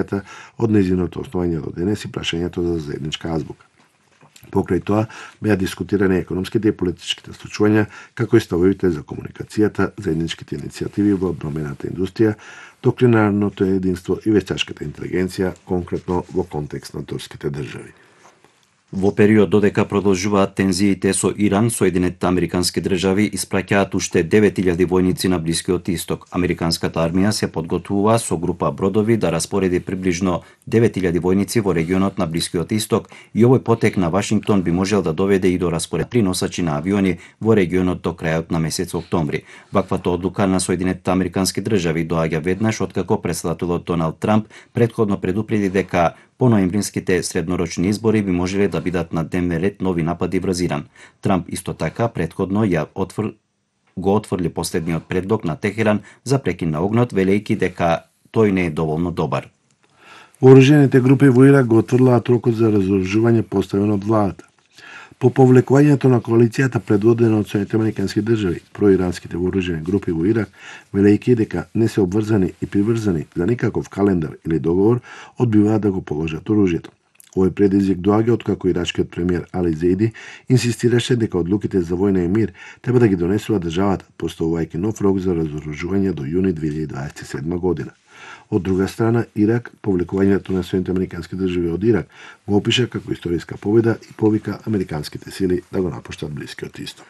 од нејзиното основање до денес и прашањето за заедничка азбука. Покрај тоа беа дискутирани економските и политичките случувања, како и ставовите за комуникацијата, заедничките иницијативи во одбрамбената индустрија, доктринарното единство и вештачката интелигенција, конкретно во контекст на турските држави. Во период додека продолжуваат тензиите со Иран, Соединетите Американски држави испраќаат уште 9000 војници на Блискиот Исток. Американската армија се подготвува со група бродови да распореди приближно 9000 војници во регионот на Блискиот Исток и овој потек на Вашингтон би можел да доведе и до распоред 3 носачи на авиони во регионот до крајот на месец октомври. Ваквата одлука на Соединетите Американски држави доаѓа веднаш откако претседателот Доналд Трамп претходно предупреди дека по ноемвринските среднорочни избори би можеле да бидат на дневен ред нови напади врз Иран. Трамп исто така претходно го отфрли последниот предлог на Техеран за прекин на огнот, велејќи дека тој не е доволно добар. Вооружените групи во Ирак го отврлаат рокот за разоружување поставен од владата. По повлекувањето на коалицијата предводена од Соединетите Американски држави, проиранските вооружени групи во Ирак, велејќи дека не се обврзани и приврзани за никаков календар или договор, одбиваат да го положат оружјето. Овој предизвик доаѓа откако ирачкиот премиер Али Зейди инсистираше дека одлуките за војна и мир треба да ги донесува државата, поставувајќи нов рок за разоружување до јуни 2027 година. Од друга страна, Ирак, повлекувањето на Соединетите Американски држави од Ирак, го опиша како историска победа и повика американските сили да го напуштат Блискиот Исток.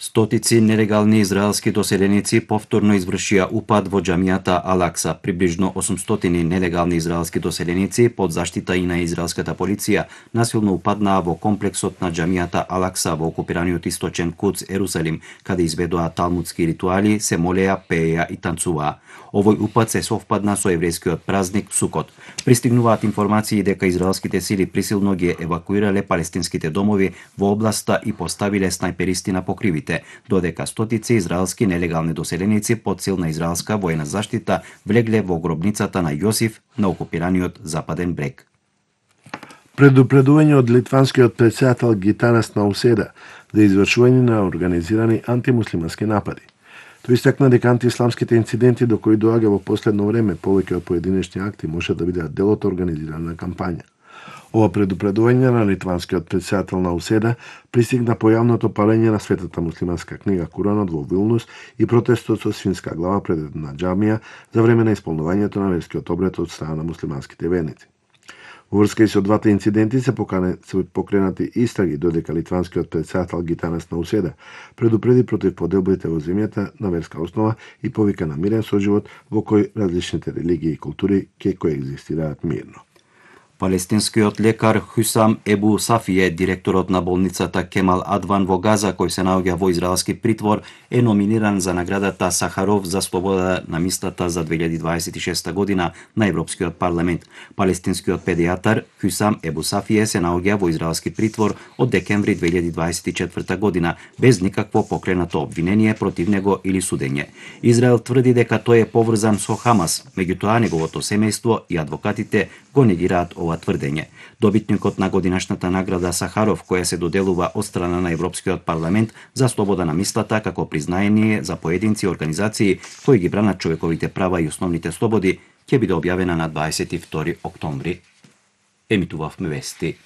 Стотици нелегални израелски доселеници повторно извршија упад во џамијата Ал-Акса. Приближно 800 нелегални израелски доселеници под заштита и на израелската полиција насилно упаднаа во комплексот на џамијата Ал-Акса во окупираниот источен Кудс, Ерусалим, каде изведоа талмудски ритуали, се молеа, пееа и танцуваа. Овој упад се совпадна со еврејскиот празник Сукот. Пристигнуваат информации дека израелските сили присилно ги евакуирале палестинските домови во областа и поставиле снајперисти на покривите, додека стотици израелски нелегални доселеници под силна израелска војна заштита влегле во гробницата на Јосиф на окупираниот Западен брег. Предупредување од литванскиот претседател Гитанас Науседа за извршување на организирани антимуслимански напади. Тој истакна дека антиисламските инциденти до кои доаѓа во последно време повеќе од поединечни акти може да бидат дел од организирана кампања. Ова предупредување на литванскиот претседател Науседа пристигна по јавното палење на светата муслиманска книга Куранот во Вилнус и протестот со свинска глава пред една џамија за време на исполнувањето на верскиот обред од страна на муслиманските верници. Во врска и со двата инциденти се покренати истраги, додека литванскиот претседател Гитанас Науседа предупреди против поделбите во земјата на верска основа и повика на мирен соживот во кој различните религии и култури ќе коегзистираат мирно. Палестинскиот лекар Хусам Ебу Сафие, директорот на болницата Кемал Адван во Газа, кој се наоѓа во израелски притвор, е номиниран за наградата Сахаров за слобода на мислата за 2026 година на Европскиот парламент. Палестинскиот педијатар Хусам Ебу Сафие се наоѓа во израелски притвор од декември 2024 година, без никакво покренато обвинение против него или судење. Израел тврди дека тој е поврзан со Хамас, меѓутоа неговото семејство и адвокатите го негираат ова тврдење. Добитникот на годинашната награда Сахаров, која се доделува од страна на Европскиот парламент за слобода на мислата како признаение за поединци и организации кои ги бранат човековите права и основните слободи, ќе биде објавена на 22 октомври. Емитувавме вести.